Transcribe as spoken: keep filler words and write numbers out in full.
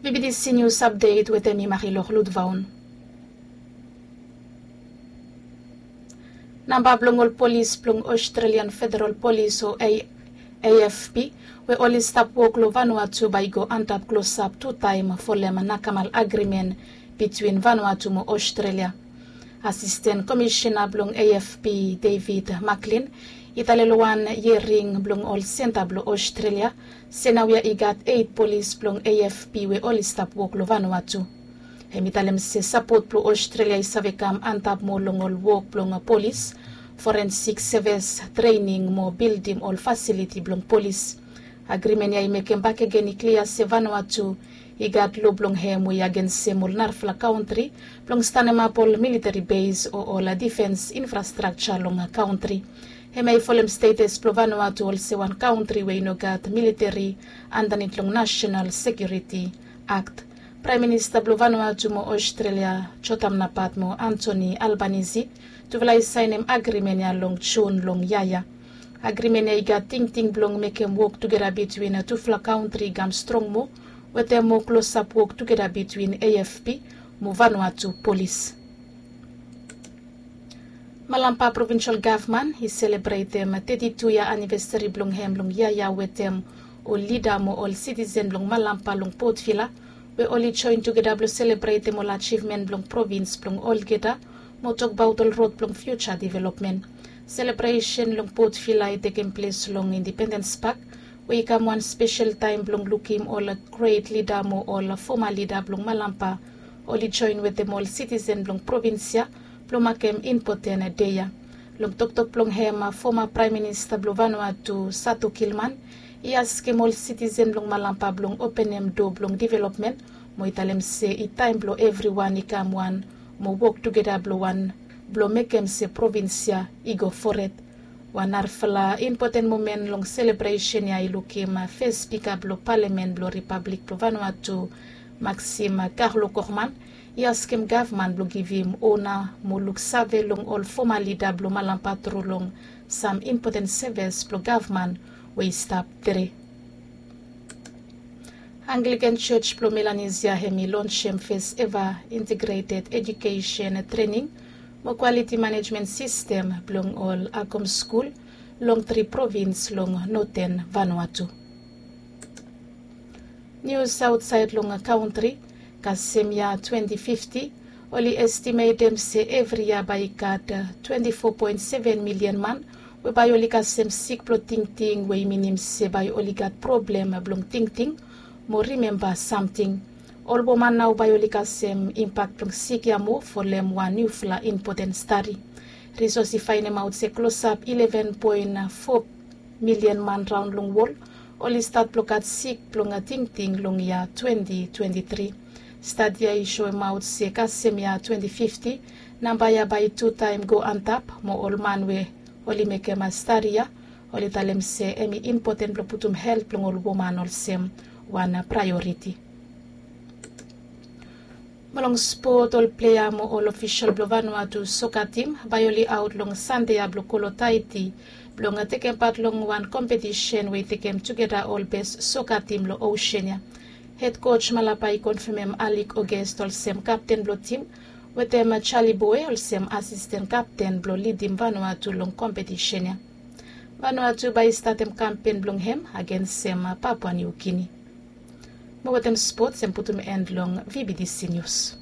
Bibidi sinius apdet wetem i marilok ludvaon. Namba blong ol polis blong Australian Federal Polis o AFP we oli stap wok long Vanuatu bae i go antap klosap tutaem folem nakamal agrimen bitwin Vanuatu mo Australia. Asisten Komisena blong AFP, David Macklin, i talem long wan iering blong ol senta blong Australia se naoia i gat eit polis blong AFP we oli stap wok long Vanuatu. Hem i talem se sapot blong Australia i save kam antap moa long ol wok blong polis, forensik sevis, trening mo bildim ol fasiliti blong polis. Agrimen ya i mekem bakegen i klia se Vanuatu i gat lo blong hem we i agensem ol narafala kantri blong stanemap ol militeri bes o ol difens infrastrakja long kantri. Hem ya i folem stetes blong Vanuatu olsem wan kantri we i no gat militeri andanit long National Security Act. Praem Minista blong Vanuatu mo Australia, Jotham Napat mo Anthony Albanese, tufala i saenem agrimen ya long Jun long yia ya. Agrimen ya i gat tingting blong mekem wok tugeta bitwin tufala kantri i kam strong moa wetem moa klosap wok tugeta bitwin AFP mo Vanuatu polis. Malampa Provinsel Gavman i selebretem teti tu yia anivesari blong hem long yia ya wetem ol lida mo ol sitisen blong Malampa long Port Vila, we oli joen tugeta blong selebretem ol ajivmen blong provins blong olgeta mo tokbaot ol rod blong fiuja developmen. Selebresen long Port Vila i tekem ples long Indipendens Pak, we i kam wan spesel taem blong lukim ol gret lida mo ol foma lida blong Malampa oli joen wetem ol sitisen blong provins ya blong makem impoten dei ya. Long toktok blong hem, foma Praem Minista blong Vanuatu, Sato Kilman, i askem ol sitisen blong Malampa blong openem doa blong developmen, mo i talem se i taem blong evriwan i kam wan mo wok tugeta blong wan blong mekem se provins ya i go fored. Wan narafala impoten momen long selebresen ya i lukim fes spika blong palamen blong Ripablik blong Vanuatu, Maxime Carlo Corman, i askem gavman blong givim ona mo luksave long ol foma lida blong Malampa tru long sam impoten sevis blong gavman we i stap tre. Anglikan Jos blong Melanesia hem i lonsem fes eva integreted ejukesen trening mo kwaliti manejmen sistem blong ol Akom skul long tri provins long noten Vanuatu. Nius aotsaed long kantri, kasem yia twenti fifti, oli estimetem se evri yia bae i gat twenti fo poen seven milian man we bae oli kasem sik blong tingting, we i minim se bae oli gat problem blong tingting mo rimemba samting. Ol woman nao bae oli kasem impak blong sik ya moa folem wan niufala impoten stadi. Risos i faenemaot se klosap ileven poen fo milian man raon long wol oli stat blong gat sik blong tingting long yia twenti twenti tri. Stadi ya i soemaot se kasem yia twenti fifti, namba ya bae i tu taem go antap, mo ol man we oli mekem stadi ya oli talem se hem i impoten blong putum helt blong ol woman olsem wan praeoriti. Mo long spot, ol plea mo ol ofisol blong Vanuatu soka tim bae oli aot long Sande ya blong Kolotaiti blong tekem pat long wan kompetisen we i tekem tugeta ol bes soka tim long osen ya. Hed koj Malampa i konfemem Alik Ogest olsem kapten blong tim wetem Jali Boe olsem asisten kapten blong lidim Vanuatu long kompetisen ya. Vanuatu bae i statem kampen blong hem agensem Papua Niu Gini. Mo wetem spots hem putum en long VBTC Nius.